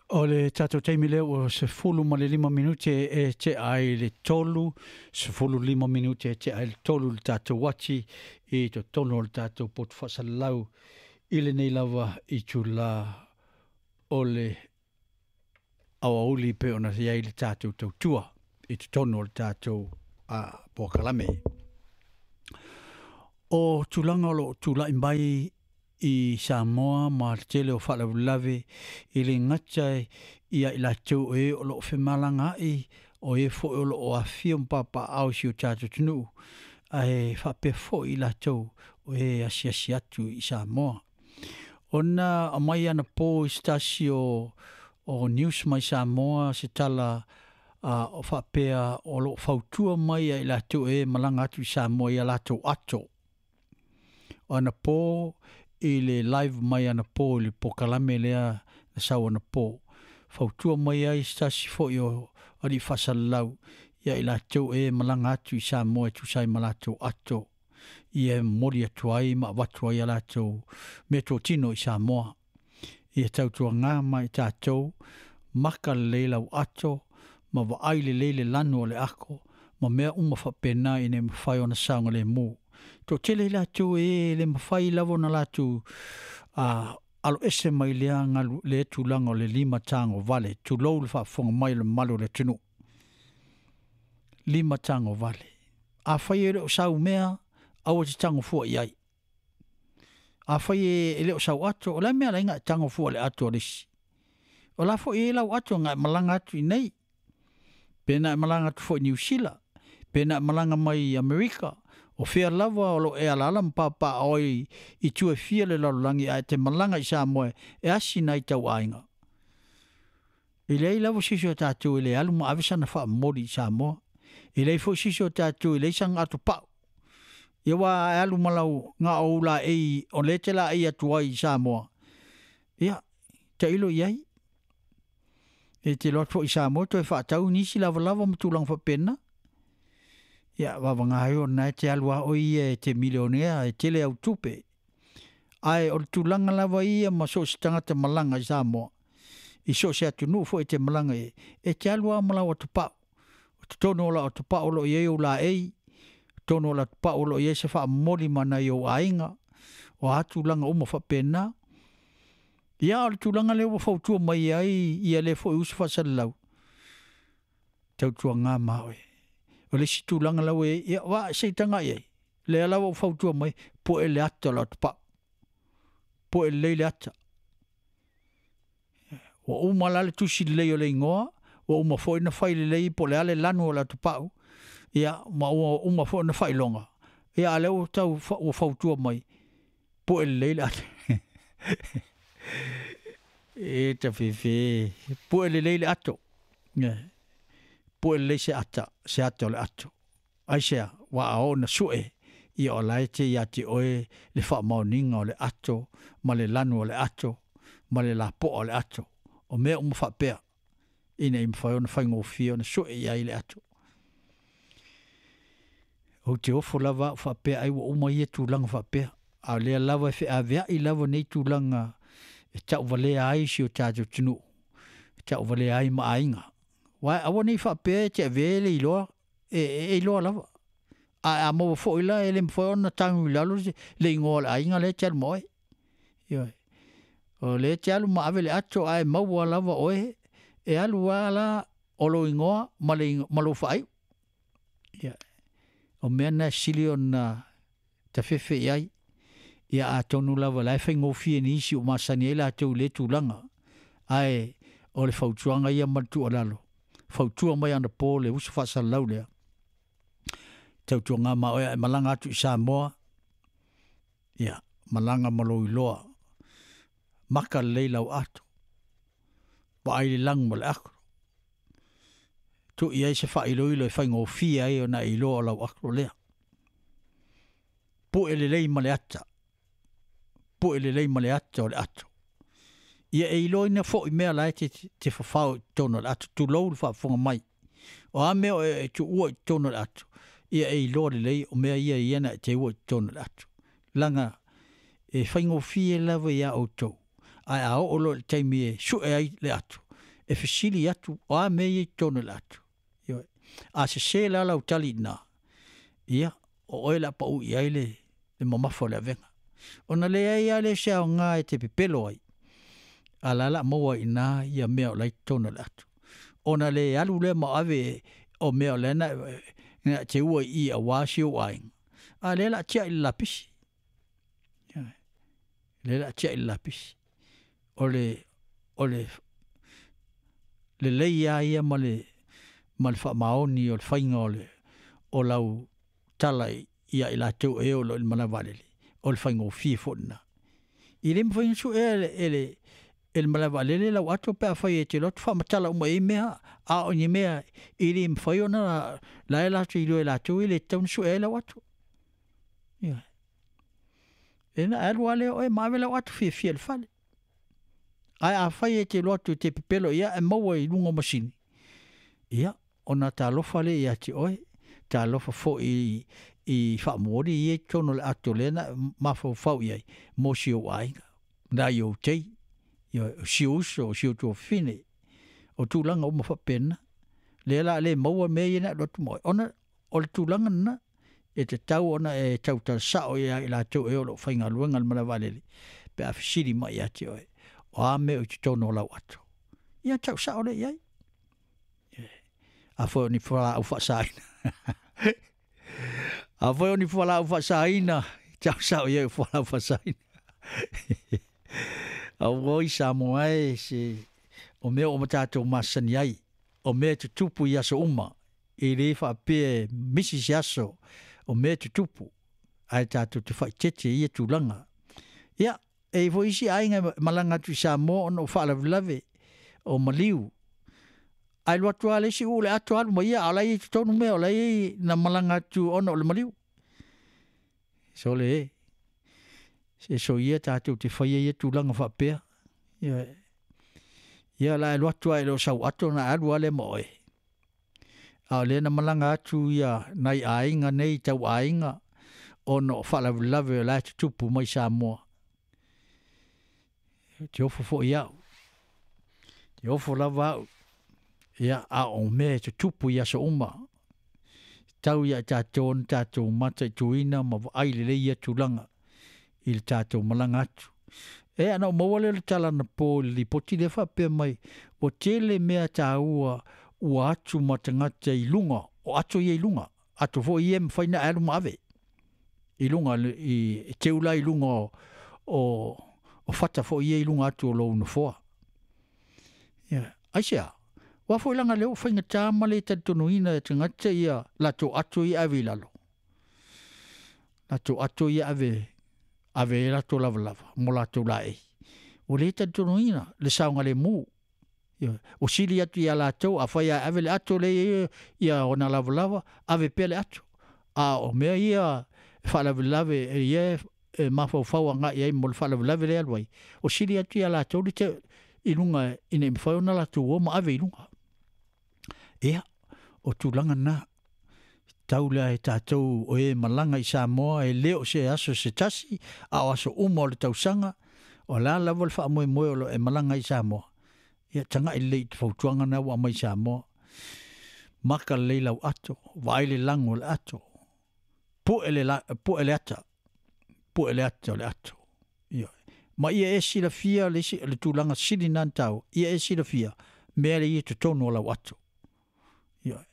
O le tatou taimi lea ua 15 minute e tea ai le 3, 15 minute e tea ai le 3 le tatou uati i totonu o le tatou potu faasalalau i lenei lava itula o le aoauli pei ona i ai le tatou tautua i totonu o le tatou polokalame. O tulaga o lo o tulai mai i Samoa ma le tele o faalavelave e le gata ia i latou o e o lo o femalagaai o e foi o lo o afifio ma papaaao i si o tatou atunuu, ae faapea foi i latou o e asiasi atu i Samoa. Ona aumai anapo i se tasi o news mai Samoa se tala o faapea o lo o fautua mai ia i latou e malaga atu i Samoa i a latou ato. O anapo i le live mai anapo i le polokalame lea na sau anapo, fautua mai ai se tasi foi o alii faasalalau ia i latou e malaga atu i Samoa e tusa ai ma latou ato, ia e momoli atu ai ma avatu ai a latou meatotino i Samoa. Ia tautuaga ma i tatou, maka lelei lau ato, ma vaai lelei le lanu o le ako, ma mea uma faapena ina ia mafai ona saogalemu. Toatele i latou e le mafai lava ona latou aloese mai lea galu lea tulaga o le lima tagovale, tulou le faafofoga mai o le mamalu o le atunuu. Lima tagovale. Afai e le o sau mea, aua te tago fua i ai. Afai e le o sau ato, o le a le mea e ala ai ona e tago fua i le ato a le isi? O la foi e i ai lau ato na e malaga atu i inei, pe na e malaga atu foi i Niu Sila, pe na e malaga mai i Amerika, o fea lava o lo o e alaala ma papaaao ai i itu e fia o le lalolagi, ae te malaga i Samoa e asi nai tauaiga. E leai lava se isi o tatou e le alu ma ave sana faamomoli i Samoa. E leai foi se isi o tatou e leai sana atopau. Ia aua a e alu ma lau na o ou laei o lea e te laei atu ai i Samoa, ia, tailo i ai. E te iloa atu foi i Samoa toe faatau nisi lavalava ma tulaga faapena. Ia, vavanga ai o lena e te alu lava oe ia e te milionea, e tele au tupe. Ae o le tulaga lava ia ma so o se tagata malaga i Samoa, i so o se atunuu foi e te malaga i ai, e te alu lava ma lau atopau. O totonu o lau atopau o lo o i ai ou laei, o totonu o lau atopau o lo o i ai se faamomoli ma nai ou aiga, o a tulaga uma faapena. Ia, o le tulaga lea ua fautua mai ai ia lea foi uso faasalalau, tautuaga ma oe. O le isi tulaga la ua i ai, ia aua se i tagai i ai, lea lava ua fautua mai, pue le ata o le atopau, pue lelei le ata. Ua uma la le tusi lelei o le igoa, ua uma foi ona fai lelei po o le a le lanu o le atopau, ia ma ua uma foi ona faailoga, ia a o lea ua tau ua fautua mai, pue lelei le ata. E tafefe, pue lelei le ato. Pue lelei se ata, se ata o le ato. Aisea? Aua a oo ina sue, ia o la e te ia te oe le faamaoniga o le ato ma le lanu o le ato ma le lapoa o le ato. O mea uma faapea ina ia mafai ona faigofie ona sue i ai le ato. Ou te ofo lava au faapea ai ua uma ia tulaga faapea, a o lea lava e feaveai lava nei tulaga e tauvalea ai si o tatou atunuu, e tauvalea ai ma aiga. Aua aua ne i faapea e te avea le iloa, e iloa lava. Ae a maua foi la, e le mafai ona tagu i lalo le igoa o le aiga lea e te alu ma oe. Ioe. O lea e te alu ma ave le ato ae maua lava oe, e alu lava la o lou igoa ma, le, ma lou faaiu. Ia, o mea na e sili ona tafefe i ai. Ia atonu lava la e faigofie nisi o masani ai latou i lea tulaga. Ae o le fautuaga ia ma le tuualalo, fautua mai anapo le uso faasalalau lea, tautuaga ma oe a e malaga atu i Samoa, ia, malaga ma lou iloa, maka lelei lau ato, vaai le lanu ma le ako, tuu i ai se faailoilo e faigofie ai ona e iloa o lau ako lea. Pue lelei ma le ata, pue lelei ma le ata o le ato. Ia e iloaina foi mea la e te fafao i totonu o le ato, tulou le faafofoga mai. O a mea o e tuua i totonu o le ato, ia e iloa lelei o mea ia ia na e teua i totonu o le ato. Leaga e faigofie lava iā outou, ae a oo loa i le taimi e sue ai le ato, e fesili atu o a mea ia i totonu o le ato. Ioe. A sese la lau tali i ina, ia, o oe o le a pau i ai le mamafa o le avega. Ona leai lava lea o se aoga e te pepelo ai, a o la e o le a maua ai i ina ia mea o la e i totonu o le ato. Ona le alu lea ma ave o mea o lea na e teua i i aua si ou aiga, a o lea o le a tiai i le lapisi. Ioe. O lea o le a tiai i le lapisi. O le lelei lava ia ma le faamaoni o le faiga o lau tala ia i latou o e o lo o i le malae vaalele, o le faigofie foi lena. E le mafai ona suea e le malae vaalele lau ato pe afai e te alu atu faamatala uma i ai mea, a o ni mea e le mafai ona… la e latou te iloa e latou e le tatau ona sue ai lau ato. Ioe. Ona e alu lava lea o oe ma ave lau ato fiafia i le fale. Ae afai e te alu atu e te pepelo i ai ae maua i luga o masini, ia, ona talofa lea ia te oe, talofa foi i faamomoli ia e i totonu o le ato lea na e mafaufau i ai mo si ou aiga, nai ou tei, ioe, o si ou uso, o si ou tuafafine, o tulaga uma faapena. Lea o le a le maua mea ia na e alu atu ma oe, ona o le tulaga lena, e tatau ona e tautala sao ia i latou e o lo o faigaluega i le malae vaalele pe a fesili mai ia te oe, o a mea o i totonu o lau ato? Ia tau sao lea i ai. Afai o ni fualaau faasaina, afai o ni fualaau faasaina, tau sao i ai o fualaau faasaina. Auoi Samoa e, se o mea ua tatou masani ai, o mea e tutupu i aso uma, e le faapea e misi se aso, o mea e tutupu, ae tatou te faaeteete i ia tulaga. Ia, e i ai foi isi aiga e malaga atu i Samoa ona o faalavelave o maliu, ae alu atu lava le isi uu le ato alu ma ia, a o la e i ai i totonu mea o la e i ai na malaga atu ona o le maliu. Sole e, se soia tatou te faia ia tulaga faapea. Ioe. Ia o le a e alu atu lava e le o sau ato ona alu lava lea ma oe. A o lea na malaga atu ia nai aiga nei tau aiga ona o faalavelave o la e tutupu mai Samoa. Ou te ofo foi au, te ofo lava au, ia, a o mea e tutupu i aso uma, tau ia i tatou ona tatou mataituina ma vaai lelei ia tulaga i le tatou malaga atu. E, ana ou maua lea o le tala anapo i le lipoti lea faapea mai, ua tele mea taua ua atu ma tagata i luga, o ato ia i luga, ato foi ia e mafai ona alu ma ave i luga, i teu la i luga o fata foi ia i luga atu o lou nofoa. Ia, aisea? Aua foi leaga lea ua faigata ma le talitonuina e tagata ia latou ato ia ave i lalo. Latou ato ia ave ave ai latou lavalava mo latou laei. Ua le talitonuina le saogalemu. Ioe. Ua sili atu ia latou afai a ave le ato lea e i ai ia ona lavalava, ave pea le ato. A o mea ia e faalavelave e ia e mafaufau agai i ai mo le faalavelave lea e alu ai, ua sili atu ia latou le te i luga ina ia mafai ona latou o ma ave i luga. Ia, o tulaga na, tau lea e tatou o e malaga i Samoa e le o se aso se tasi, a o aso uma o le tausaga, o le a lava le faamoemoe o lo o e malaga ai i Samoa, ia tagai lelei i te fautuaga na ua aumai i Samoa. Maka lelei lau ato, vaai le lago o le ato, pue le, pue le ata, pue le ata o le ato. Ioe. Ma ia e silafia le, isi, le tulaga sili na taua, ia e silafia mea le ia totonu o lau ato. Ioe.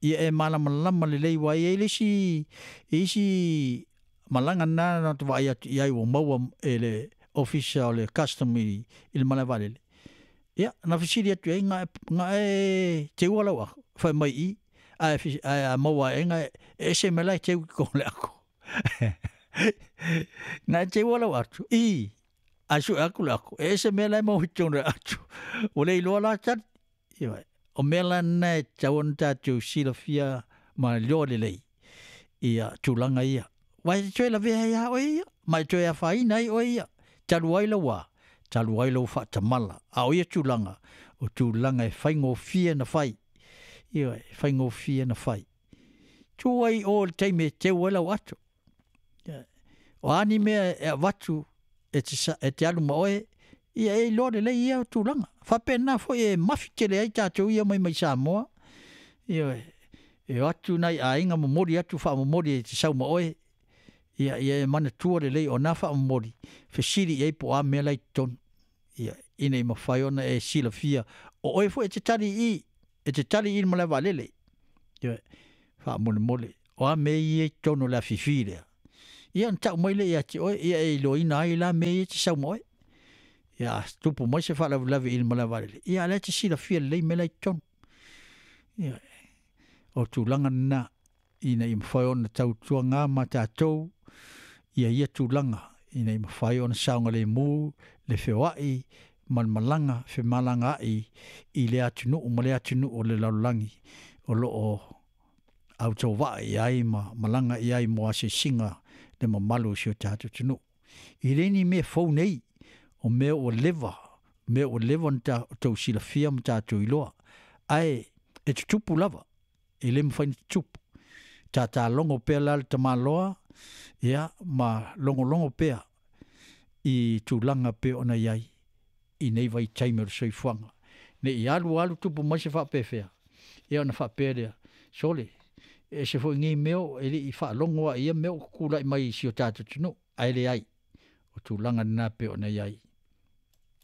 Ia e malamalama lelei aua e i ai le isi, isi malaga na na te vaai atu i ai ua maua e le ofisa o le custom i le malae vaalele. Ia, na fesili atu i ai, na e teua lau ako, fai mai i, ae a maua e na e ese mai la e teu ki kona le ako. Na e teua lau atu, i, ae sue aku le ako, e ese mea la e maua i totonu o le atu. Ua le iloa la tali. Ioe. O mea la na e tatau ona tatou silafia ma iloa lelei ia tulaga ia. Aua e te toe lavea ai lava oe ia, ma e toe afaina ai oe ia. Talu ai lau a? Talu ai lou faatamala. A o ia tulaga, o tulaga e faigofie ona fai. Ioe, e faigofie ona fai. Tu ai o i le taimi e teu ai lau ato. O a ni mea e avatu e te, e te alu ma oe, Ia e iloa lelei ia tulaga faapena foi e mafi tele ai tatou ia mai Samoa. Ioe, e o atu nai aiga momoli atu faamomoli e te sau ma oe, ia e manatua lelei o na faamomoli, fesili i ai po o a mea la e i totonu, ia, ina ia mafai ona e silafia o oe foi e te tali i i, e te tali i le malae vaalele. Ioe, faamolemole, o a mea ia i totonu o le afifi lea? Ia ona tau mai lea ia te oe, ia e iloaina ai la mea ia e te sau ma oe. Ia a tupu mai se faalavelave i le malae vaalele, ia a o la e te silafia lelei mea la e i totonu. Ioe, o tulaga lena ina ia mafai ona tautuaga ma tatou ia tulaga ina ia mafai ona saogalemu le feoai ma le malaga femalagaai i lea atunuu ma lea atunuu o le lalolagi o lo o autovaa i ai ma malaga i ai mo asiasiga le mamalu o si o tatou atunuu. E le ni mea fou nei, o mea ua leva, mea ua leva ona outou silafia ma tatou iloa, ae e tutupu lava, e le mafai ona tutupu. Tatalogo pea la le tamaloa, ia ma logologo pea i tulaga pei ona i ai i nei vaitaimi o le soifuaga. Ne i alu alu tupu mai se faapefea, ia ona faapea lea, sole, e ese foi nei mea e le i faalogo lava i ia mea o tutulai mai i si o tatou atunuu, ae leai, o tulaga na pei ona i ai.